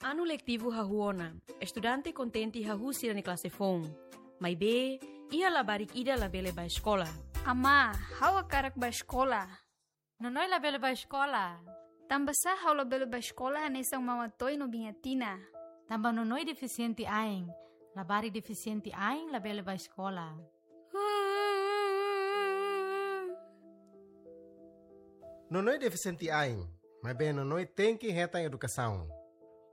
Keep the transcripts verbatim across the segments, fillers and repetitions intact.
Anu letivu hahú ona, estudante kontente hahú sira-nia klase foun. Maibé, iha labarik ida labele bá eskola. Amá, ha'u hakarak bá eskola. Nonoi labele bá eskola. Tanbasá ha'u labele bá eskola hanesan Mama Toy no Biña Tina? Tanba Nonoi defisiente ain. Labarik defisiente ain labele bá eskola. Nonoi defisiente ain, maibé Nonoi tenke hetan edukasaun.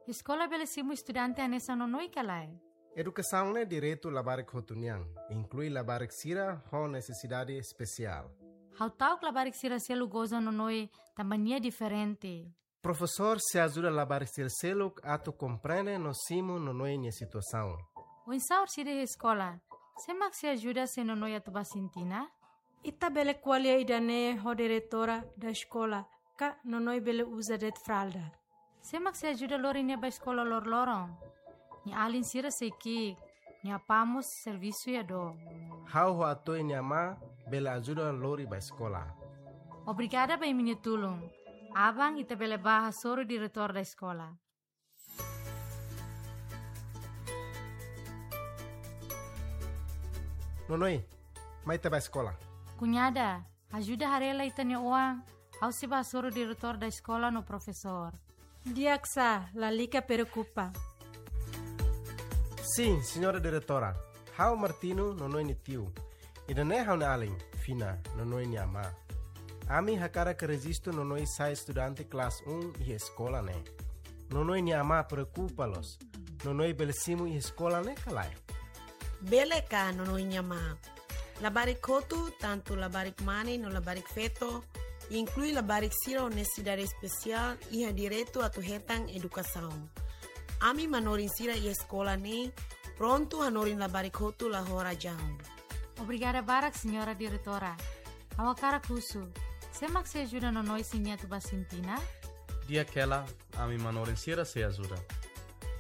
Eskola bele simu estudante hanesan Nonoi ka lae? Edukasaun ne'e direitu labarik hotu nian, inklui labarik sira ho nesesidade espesiál. Ha'u ta'uk labarik sira seluk goza Nonoi tanba nia diferente. Profesór sei ajuda labarik sira seluk atu komprende no simu Nonoi nia situasaun. Oinsá orsida iha eskola, sé mak sei ajuda se Nonoi atu bá Sintina? Ita bele ko'alia ida-ne'e ho diretora da eskola, ka Nonoi bele uza de'it fralda. Sé mak sei ajuda lori nia bá eskola loroloron? Nia alin sira sei ki'ik, nia apá mós servisu iha dook. Ha'u ho Atoy nia amá bele ajuda lori bá eskola. Obrigada ba imi-nia tulun. Aban ita bele bá hasoru diretór da eskola. Nonoi, mai ita bá eskola. Kuñada, ajuda haree lai ita-nia oan, ha'u sei bá hasoru diretór da eskola no profesór. Di'ak sá, lalika preokupa. Sin, señora diretora. Ha'u Martino, Nonoi nia tiu. Ida-ne'e ha'u-nia alin, Fina, Nonoi nia amá. Ami hakarak rejistu Nonoi sai estudante klase um iha eskola ne'e. Nonoi nia amá preokupa loos. Nonoi bele simu iha eskola ne'e ka lae? Bele ka, Nonoi nia amá. Labarik hotu, tantu labarik mane no labarik feto, inklui labarik sira ho nesesidade espesiál, iha direitu atu hetan edukasaun. Ami manorin sira iha eskola ne'e prontu hanorin labarik hotu la ho razaun. Obrigada barak, señora diretora. Ha'u hakarak husu, sé mak sei ajuda Nonoi se nia atu bá Sintina? Di'ak hela, ami manorin sira sei ajuda.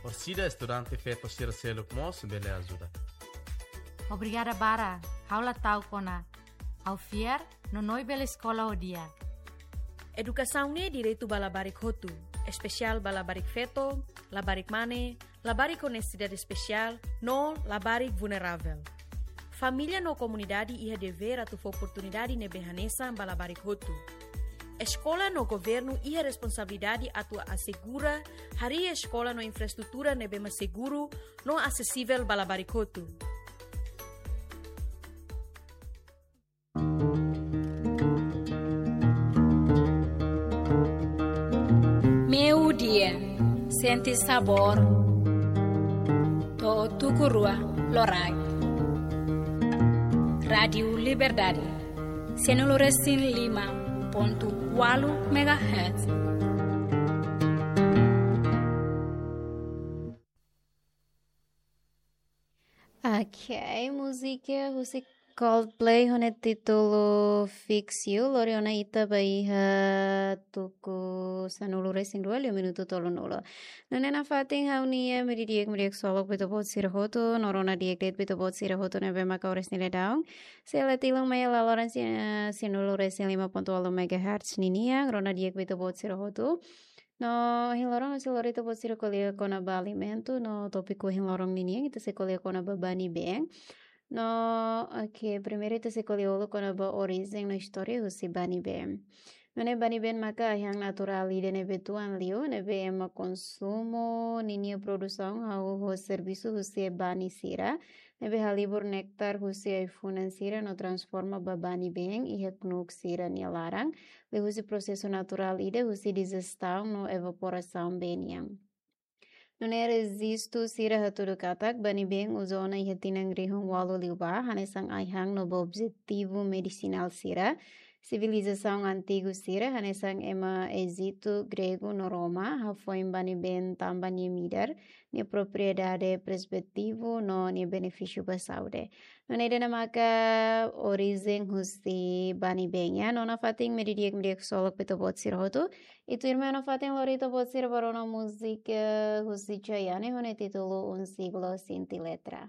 Orsida estudante feto sira seluk mós bele ajuda. Obrigada barak, ha'u la ta'uk ona. Ha'u fiar, Nonoi bele eskola ho di'ak. Edukasaun ne'e direitu ba labarik hotu, espesiál ba labarik feto, labarik mane, labarik ho nesesidade espesiál, no labarik vulneravel. Família no komunidade iha devér atu fó oportunidade ne'ebé hanesan ba labarik hotu. Eskola no governu iha responsabilidade atu asegura harii eskola no infraestrutura ne'ebé mak seguru no asesivel ba labarik hotu. Meiudia, sente sabór to'o tuku rua loraik. Rádiu Liberdade, sanulu resin lima pontu ualu megahertz. Ok, múzika husi Coldplay ho nia títulu Fix You, lori ona ita ba iha tuku sanulu resin rua liu minutu tolunulu. Nune'e nafatin ha'u-nia meiudia di'ak, meiudia di'ak ksolok ba ita-boot sira hotu, no rona di'ak de'it ba ita-boot sira hotu ne'ebé maka oras ne'e daudaun sei la tilun mai iha laloran si-, sanulu resin lima pontu ualu megahertz ninian, rona di'ak ba ita-boot sira hotu. No ohin loron ha'u sei lori ita-boot sira ko'alia kona-ba alimentu, no tópiku ohin loron ninian ita sei ko'alia kona-ba bani-been. No, ok, primeiru ita sei ko'alia uluk kona-ba orijen no istória husi bani-been. Nune'e bani-been maka ai-han naturál ida ne'ebé tuan liu, ne'ebé ema konsumu ninia produsaun hahú ho servisu husi bani sira, ne'ebé halibur néktar husi ai-funan sira no transforma ba bani-been iha knuk sira-nia laran, liuhusi prosesu naturál ida husi dijestaun no evaporasaun bee nian. Nune'e rejistu sira hatudu katak bani-been uza ona iha tinan rihun ualu liubá, hanesan ai-han no ba objetivu medisinál sira. Sivilizasaun antigu sira, hanesan ema Ejitu, Gregu no Roma, hafoin bani-been tanba nia midar, nia propriedade prezervativu no nia benefísiu ba saúde. Nune'e ida-ne'e maka orijen husi bani-been, ya. No nafatin meiudia di'ak, meiudia di'ak ksolok ba ita-boot sira hotu. I tuirmai nafatin lori ita-boot sira ba rona múzika husi Chayanne ho nia títulu Un Siglo Sin Ti Letra.